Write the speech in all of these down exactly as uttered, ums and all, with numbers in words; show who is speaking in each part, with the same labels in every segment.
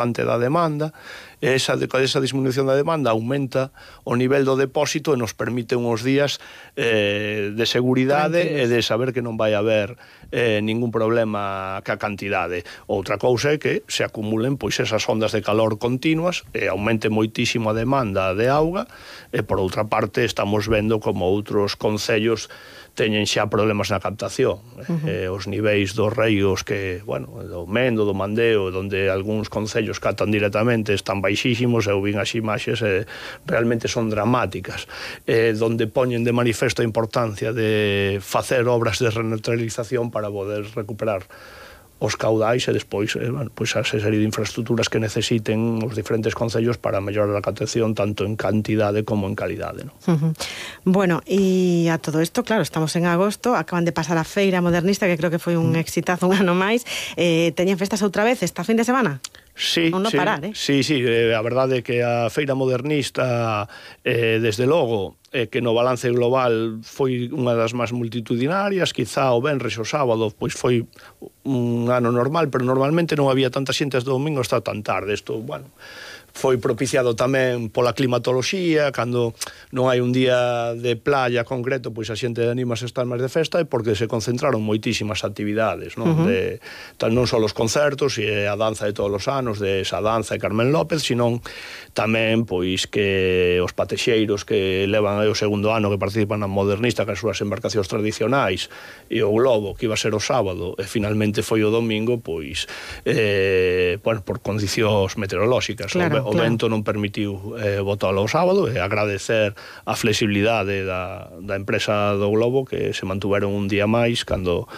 Speaker 1: importante da demanda, e esa, esa disminución da demanda aumenta o nivel do depósito e nos permite uns días eh, de seguridade e de saber que non vai haber eh, ningún problema ca cantidade. Outra cousa é que se acumulen pois esas ondas de calor continuas e aumente moitísimo a demanda de auga e por outra parte estamos vendo como outros concellos teñen xa problemas na captación. Uh-huh. eh, os niveis dos ríos que, bueno, do Mendo, do Mandeo, onde algúns concellos catan directamente, están baixísimos, eu vin as imaxes, eh, realmente son dramáticas, eh, donde poñen de manifesto a importancia de facer obras de reneutralización para poder recuperar os caudais e despois eh, bueno, pois a serie de infraestructuras que necesiten os diferentes concellos para mellorar a captación tanto en cantidade como en calidade, ¿no?
Speaker 2: Uh-huh. Bueno, e a todo isto, claro, estamos en agosto, acaban de pasar a Feira Modernista, que creo que foi un exitazo un ano máis, eh, teñen festas outra vez esta fin de semana?
Speaker 1: Sí,
Speaker 2: non
Speaker 1: sí,
Speaker 2: parar, eh?
Speaker 1: sí, sí, eh, a verdade é que a Feira Modernista, eh, desde logo, eh, que no balance global foi unha das máis multitudinarias, quizá o venres o sábado, pois foi un ano normal, pero normalmente non había tanta xente do domingo hasta tan tarde. Isto, bueno, foi propiciado tamén pola climatoloxía, cando non hai un día de playa concreto, pois a xente anima a estar máis de festa, e porque se concentraron moitísimas actividades, non? Uh-huh. De, non só os concertos e a danza de todos os anos, de esa danza de Carmen López, sino tamén pois que os patexeiros que levan o segundo ano que participan na Modernista con as súas embarcacións tradicionais e o globo que iba a ser o sábado e finalmente foi o domingo, pois eh, bueno, por condicións meteorolóxicas, claro, o, o claro. vento non permitiu eh, botalo o sábado, e agradecer a flexibilidade da, da empresa do globo que se mantuveron un día máis cando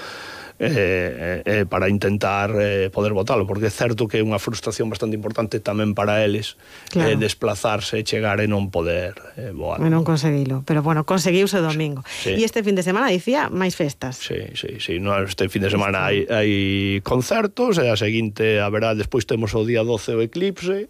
Speaker 1: Eh, eh, para intentar eh, poder botalo, porque é certo que é unha frustración bastante importante tamén para eles, claro, eh, desplazarse e chegar e non poder eh, voar.
Speaker 2: E non conseguilo, pero bueno, conseguiuse o domingo.
Speaker 1: Sí.
Speaker 2: E este fin de semana, dicía, máis festas.
Speaker 1: Sí, sí, sí, no, este fin de semana hai, hai concertos, e a seguinte haberá, despois temos o día doce o eclipse.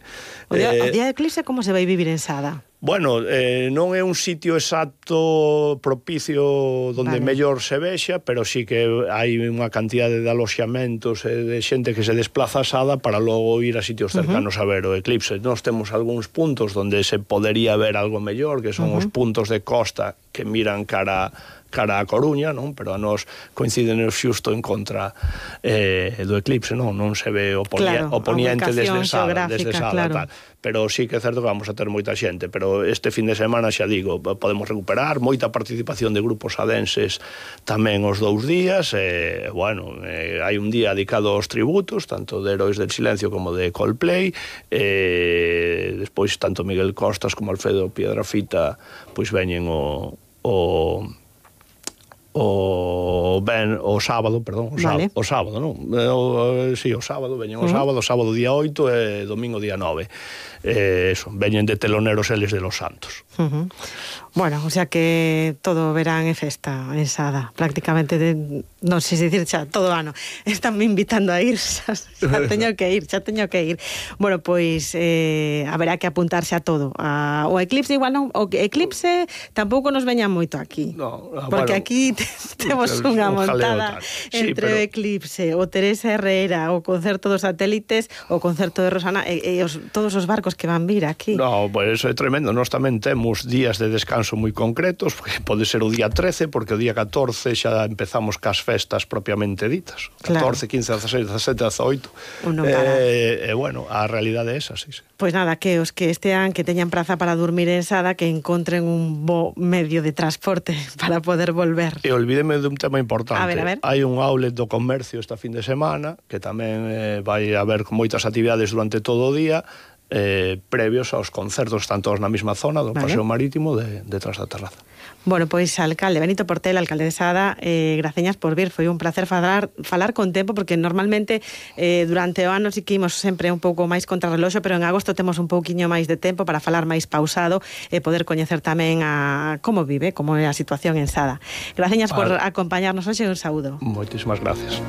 Speaker 2: O día,
Speaker 1: eh,
Speaker 2: o día de eclipse, como se vai vivir en Sada?
Speaker 1: Bueno, eh, non é un sitio exacto propicio donde vale. mellor se vexa, pero sí que hai unha cantidade de aloxamentos e de xente que se desplaza a Sada para logo ir a sitios cercanos uh-huh. a ver o eclipse. Nós temos algúns puntos donde se podería ver algo mellor, que son uh-huh. os puntos de costa que miran cara cara a Coruña, non? Pero a nós coinciden xusto en contra eh, do eclipse, non? Non se ve o, ponia, claro, o poniente desde Sada, desde Sada, claro. Tal. Pero sí que é certo que vamos a ter moita xente, pero este fin de semana, xa digo, podemos recuperar moita participación de grupos sadenses tamén os dous días, e, bueno, eh, hai un día dedicado aos tributos, tanto de Heroes del Silencio como de Coldplay, e despois tanto Miguel Costas como Alfredo Piedrafita pois veñen o o o ben o sábado, perdón, o, vale. sábado, o sábado, non? O, sí, o sábado, veñen o uh-huh. sábado, o sábado día oito e domingo día nove. Eh, eso, veñen de teloneros eles de Los Santos.
Speaker 2: Uh-huh. Bueno, o sea que todo verán e festa en Sada, prácticamente de, non sei se dicir xa, todo ano. Estánme invitando a ir, xa, xa teño que ir, xa teño que ir. Bueno, pois eh, haberá que apuntarse a todo. A, o eclipse igual non, o eclipse tampouco nos veña moito aquí. No, porque bueno, aquí temos unha montada sí, entre pero... o eclipse, o Teresa Herrera, o concerto dos satélites, o concerto de Rosana e, e os, todos os barcos que van vir aquí.
Speaker 1: No, pois eso é tremendo. Nós tamén temos días de descanso moi concretos, porque pode ser o día trece, porque o día catorce xa empezamos cas festas propiamente ditas. catorce, quince, dezasseis, dezasete, dezaoito. E, eh, bueno, a realidade é esa, sí, sí.
Speaker 2: Pois nada, que os que estean, que teñan praza para dormir en Sada, que encontren un bo medio de transporte para poder volver.
Speaker 1: E olvídeme de un tema importante.
Speaker 2: A ver, a ver.
Speaker 1: Hai un outlet do comercio esta fin de semana, que tamén eh, vai haber moitas actividades durante todo o día, eh, previos aos concertos, están todos na mesma zona do vale. Paseo Marítimo de, detrás da terraza.
Speaker 2: Bueno, pois, alcalde Benito Portela, alcalde de Sada, eh, graciñas por vir, foi un placer falar, falar con tempo, porque normalmente eh, durante o ano sí que imos sempre un pouco máis contrarreloxo, pero en agosto temos un pouquiño máis de tempo para falar máis pausado e poder coñecer tamén a como vive, como é a situación en Sada. Graciñas vale. por acompañarnos hoxe e un saúdo.
Speaker 1: Moitísimas gracias.